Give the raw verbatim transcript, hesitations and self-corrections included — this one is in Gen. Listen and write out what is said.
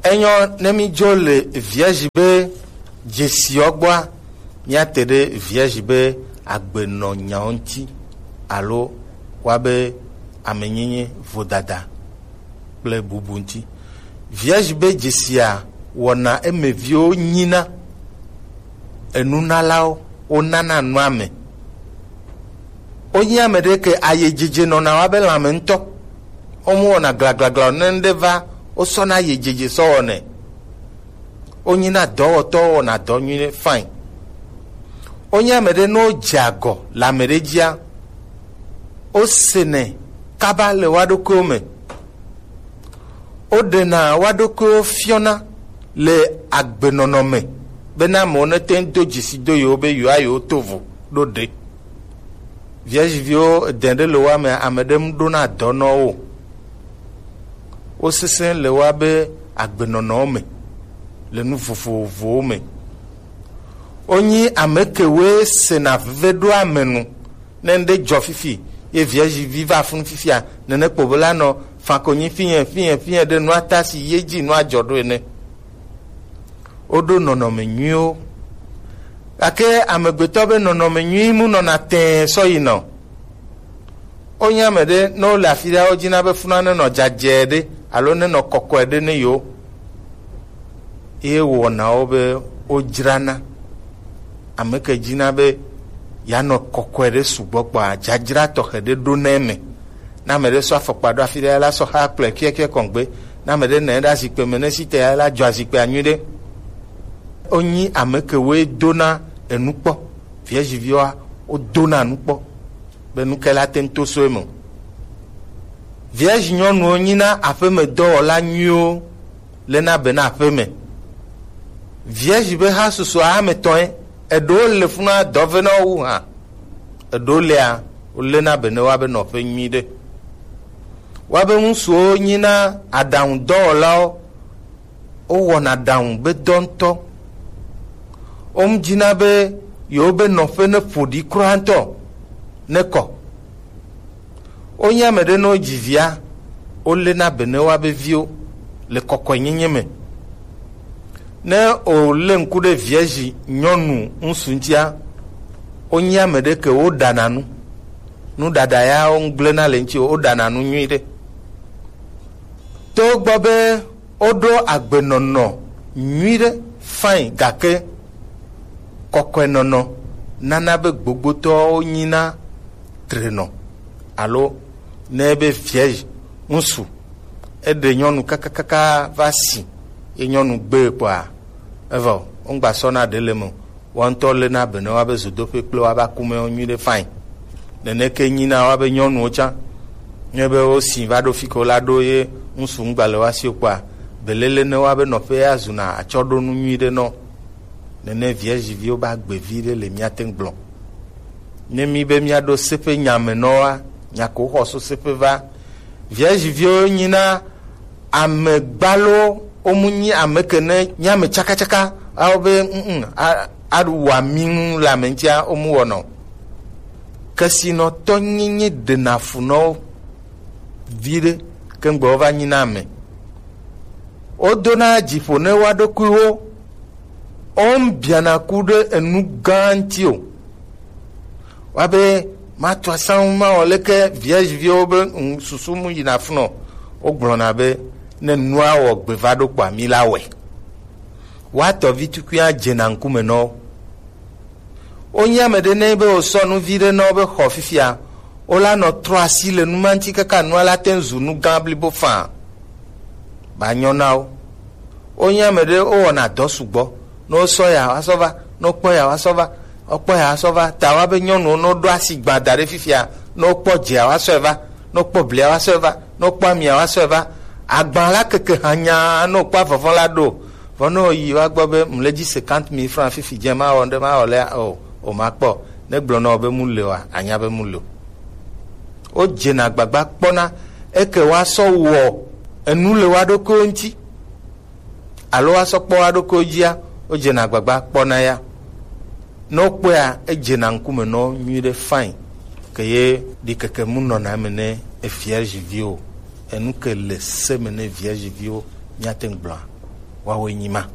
Enyo ne mi dzo le vierge be dzesiɔ gbɔa, miate ɖe vierge be agbenɔnyawo ŋuti alo wa be amenyenye, vodada kple bubu ŋuti. Vierge be dzesia wɔna emeviwo nyina enunalawo, wonana nua me. Wonye ame ɖe ke ayedzedze nɔna wa be lãme ŋutɔ. Womu wɔna glaglagla ne ŋɖe va, wosɔna ayedzedze sɔ wɔnɛ. Wonyina dɔwɔtɔwo, wɔna dɔ nyuie fine. Wonye ame ɖe ne wodze agɔ le ame ɖe dzia, wosenɛ kaba le wa ɖokuiwo me. Woɖena wa ɖokuiwo fiɔna le agbenɔnɔ me, bena amewo nete ŋu do dzesi do yewo be yewoa yewo to vo ɖo ɖe. Vierge viwo dɛn ɖe le wa me, ame ɖe mu ɖona dɔ nɔ wo. Wosesẽ le wa be agbenɔnɔwo me, le nu vovovowo me. Wonyi ame kewoe sena veve ɖo ame nu. Ne ŋɖe dzɔ fifi, ye vierge vi va funu fifia, nene kpo be la nɔ fa konyi finyɛ finyɛ finyɛ ɖe nua ta si ye dzi nua dzɔ ɖo ene. Woɖo nɔnɔme nyuiwo. Gake amegbetɔ be nɔnɔme nyui mu nɔna tɛɛ sɔ yi nɔ. Wonye ame ɖe ne wole afi ɖe, wodina be funua nenɔ dzadzɛ ɖe alo nenɔ kɔkɔe ɖe ne yewo. Ye wɔnawo be wodzrana. Ame ke dzina be yeanɔ kɔkɔe ɖe sugbɔ kpɔa, dzadzra tɔxɛ ɖe ɖo na eme. Ne ame ɖe sɔ afɔkpa ɖo afi ɖe la sɔ xa kplɔe kiɛkiɛ kɔngbe. Ne ame ɖe nɔ anyi ɖe azikpe me ne si te ya la dzɔ azikpea nyuie ɖe. Wonyi ame ke woe dona enu kpɔ. Vierge viwoa, wodona nu kpɔ be nu ke la te ŋu to so eme o. Vierge nyɔnuwo nyina aƒemedɔwɔla nyuiwo lena be na aƒeme. Vierge be ha susua ame tɔe, eɖewo le funa dɔ ve na wo wu hã. Eɖewo lea, wolena be ne woa be nɔƒe nyui ɖe. Woa be ŋutsuwo nyina aɖaŋudɔwɔlawo, wowɔna aɖaŋu be dɔ ŋutɔ. Wom dzina be yewo be nɔƒe ne ƒo ɖi kura ŋutɔ ne kɔ. Wonye ame ɖe ne wodzi via, wolena be ne woa be viwo le kɔkɔenyenye me. Ne wòlé ŋku ɖe vierge nyɔnu ŋutsu ŋutia, wonye ame ɖe ke woɖana nu. Nuɖaɖa ya wogblẽna le ŋuti o, woɖana nu nyui ɖe. To gbɔ be woɖo agbenɔnɔ nyui ɖe fine, gake kɔkɔenɔnɔ nana be gbogbotɔwo nyina trenɔ alo ne be vierge ŋutsu eɖe nyɔnu kakakaka va si ye nyɔnu gbe kpɔa, evɔ wongba sɔna ɖe le me o. Woa ŋutɔ lena be ne woa be zodoƒe kple woa be akumewo nyui ɖe fine. Nene ke nyina woa be nyɔnuwo tsã. Ne be wosi va ɖo fi ke wola ɖo ye ŋutsu ŋgba le woa si o kpɔa, belele ne woa be nɔƒe ya zuna atsɔɖonu nyui ɖe nɔ. Nene vierge viwo be agbevi ɖe le mía te ŋu gblɔ. Ne mi be mía ɖo seƒe nya me nɔa, nya ko xɔ so seƒe va. Vierge viwo nyina ame gbalo, womu nyi ame ke ne nyi ame tsakatsaka, awo be, mm, a, aɖu wa mi ŋu le ame ŋutia, womu wɔnɔ. Kesinɔtɔ nyenye ɖena fu nɔ wo viɖe, ke ŋgbe wova nyina ame. Wodona dzi ƒo ne woa ɖokuiwo, wom biana ku ɖe enu gã ŋuti o. Woabe, matu asaŋu mawɔ leke vierge viwo be nu susu mu yina funɔ. Wogblɔna be, ne nua wɔ gbe va ɖo kpɔa, mi la wɔe. Woatɔ vi tukui adzena ŋkume nɔ wo. Wonye ame ɖe ne be wosɔ nu vi ɖe nɔ wo be xɔ fifia, wola nɔ trɔ asi le nu ma ŋuti kaka nua la te ŋu zu nu gã blibo faa. Ba nyɔ na wo. Wonye ame ɖe wowɔna dɔ sugbɔ. Ne wosɔ ya, woasɔ va. Ne wokpɔ ya, woasɔ va. Wokpɔ ya, woasɔ va. Ta woa be nyɔnuwo, ne woɖo asi gbã da ɖe fifia, ne wokpɔ dzea, woasɔe va. Ne wokpɔ blia, woasɔe va. Ne wokpɔ amia, woasɔe va. Agba la keke hanya, ne wokpɔ avɔvɔ la ɖo. Vɔ ne woyi, woagbɔ be, mle dzi cinquante mille francs fifi dze, mawɔ ŋɖe, mawɔ lea, o, o, makpɔ. Ne gblɔ na wò be mu le oa, anya be mu le o. Wodzena agbagba kpɔna eke woasɔ wɔ enu le woa ɖokuiwo ŋuti. Alo woasɔ kpɔ woa ɖokuiwo dzia, wodzena agbagba kpɔna ya. Ne wokpɔea, edzena ŋkume nɔ nyui ɖe fine. Ke ye ɖi keke mu nɔna eme ne vierge viwo. Enu ke le se me ne vierge viwo, míate ŋu gblɔa. Wawe nyi ma.